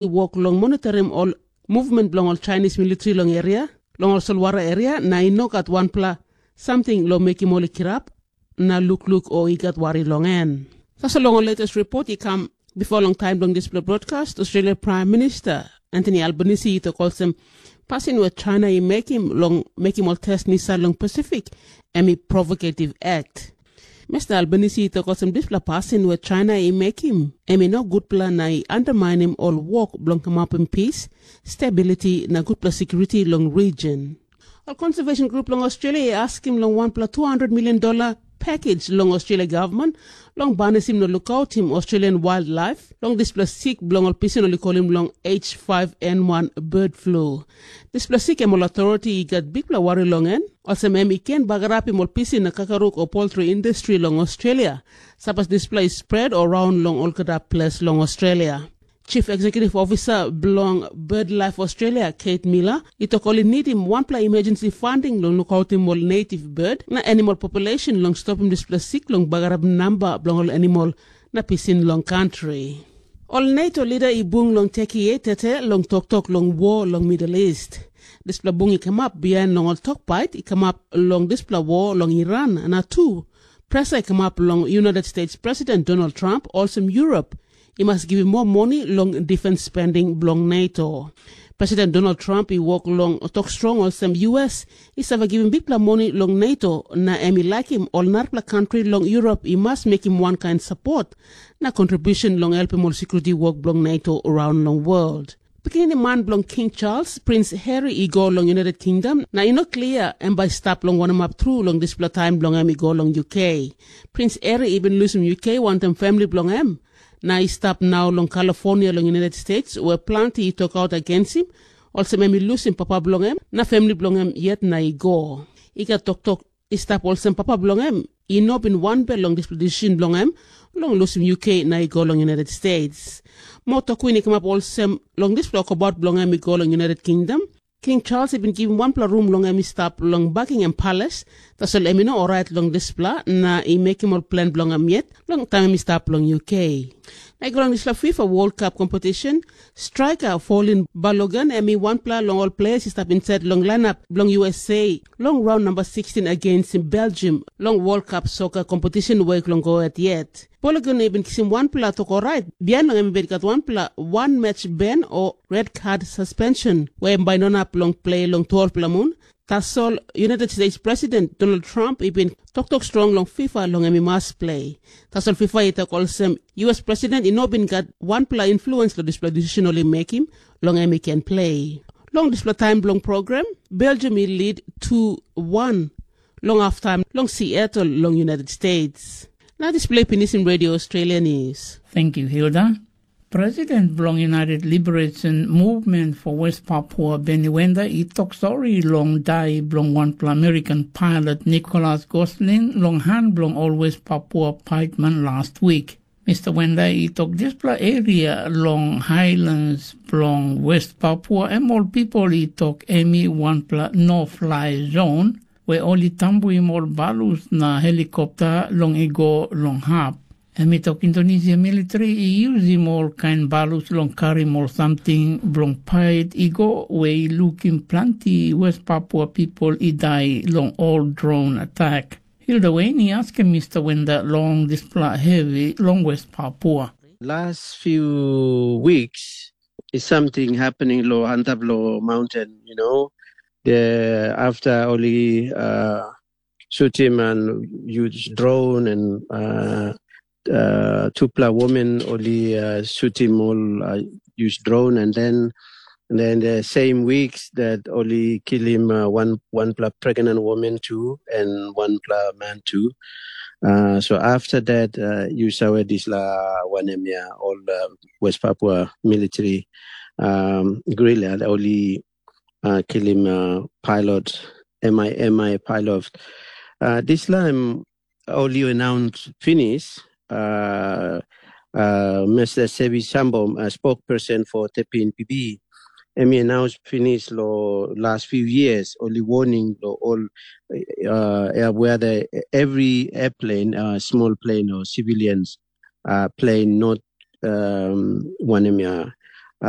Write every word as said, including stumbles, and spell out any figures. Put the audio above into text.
i wok long monitorim ol movement bilong ol Chinese militri long eria, long ol solwara eria, na i no gat wanpela samting long mekim ol i kirap na lukluk o i gat wari long en. Tasol long ol latest report i kam bipo long taim bilong dispela broadcast, Australia Prime Minister Anthony Albanese i tok olsem, pasin we China i mekim long mekim ol test misail long Pasifik, em i provokativ act. Mister Albanese i tok olsem dispela pasin we China i mekim, em i no gutpela na i underminim ol wok bilong kamapim pis, stability na gutpela security long region. Ol conservation group long Australia i askim long wanpela two hundred million dollar package long Australia government long banisim na lukautim Australian wildlife long dispela sik bilong ol pisin ol i kolim long H five N one bird flu. Dispela sik em ol authority i gat bikpela wari long en, olsem em i ken bagarapim ol pisin na kakaruk o poultry industry long Australia, sapos dispela i spread o raun long olgeta ples long Australia. Chief Executive Officer bilong BirdLife Australia, Kate Miller, i tok ol i nidim wanpela emergency funding long lukautim ol native bird na animal population long stopim dispela sik long bagarapim namba bilong ol animal na pisin long kantri. Ol NATO lida i bung long Turkey tete long toktok long wo long Middle East. Dispela bung i kamap bihain long ol tok pait i kamap long dispela wo long Iran, na tu, presa i kamap long United States President Donald Trump olsem Europe i mas givim moa moni long defens spending bilong NATO. President Donald Trump i wok long tok strong olsem U S i save givim bikpela moni long NATO, na em i laikim ol narapela kantri long Europe i mas mekim wankain sapot na kontribusen long helpim ol security wok bilong NATO around long world. Pikinini man bilong King Charles, Prince Harry, i go long United Kingdom, na i no klia em bai i stap long wanem hap tru long dispela taim bilong em i go long U K. Prince Harry i bin lusim U K wantaim famili bilong em, na i stap nau long California long United States, where planti i tokaut agensim, olsem em i lusim papa bilong em na famili bilong em yet na i go. I gat toktok i stap olsem papa bilong em i no bin wanbel long dispela decision bilong em long lusim U K na i go long United States. Moa tokwin i kamap olsem, long dispela wokabaut bilong em i go long United Kingdom, King Charles i bin givim wanpela rum long em i stap long Buckingham Palace, tasol em i no orait long dispela na i mekim ol plen bilong em yet long taim em i stap long U K. Na i go long dispela FIFA World Cup competition, striker Paulin Balogun em i wanpela long ol ples i stap insait long lainap bilong U S A long raun namba sixteen against Belgium long World Cup soccer competition wek long go yet. Balogun i bin kisim wanpela tok orait, bihain long em i bin gat wanpela wan match ban o red card suspension, we em bai no inap long play long twelvepela mun. Tasol United States President Donald Trump i bin toktok strong long FIFA long em i mas play. Tasol FIFA i tok olsem, U S President i no bin gat wanpela influence long dispela decision ol i mekim long em i ken play. Long dispela taim bilong program, Belgium i lead two one long halftime long Seattle long United States. Na dispela i pinisim Radio Australia News. Thank you, Hilda. President bilong United Liberation Movement for West Papua, Benny Wenda, i tok sori long dai bilong wanpela American pilot Nicholas Goslin long han bilong ol West Papua paitman last week. Mister Wenda i tok dispela eria long Highlands bilong West Papua, em ol pipel i tok em i wanpela no-fly zone, we ol i tambuim ol balus na helikopta long i go long hap. Em i tok Indonesia militri i yusim ol kain balus long karim ol samting bilong pait i go, we i lukim planti West Papua pipel i dai long ol dron atak. Hilda Wayne i askim Mister Wenda long dispela hevi long West Papua. Last few weeks is something happening lo antap lo mountain, you know. The after only uh, shoot him and use drone and uh, uh, tupla women only uh, shoot him all uh, use drone and then and then the same weeks that only kill him uh, one one pla pregnant woman too and one pla man too. Uh, so after that, uh, you saw this la one M, yeah, all uh, West Papua military um, guerrilla only uh, kill him uh, pilot, M I M I pilot. Uh, this time only announced finish. Uh, uh, Mister Sebi Sambom, a spokesperson for T P N P B, em i announce finish lo last few years, only warning lo all uh, whether every airplane, uh, small plane or civilians uh, plane, not um, wanem ya, A,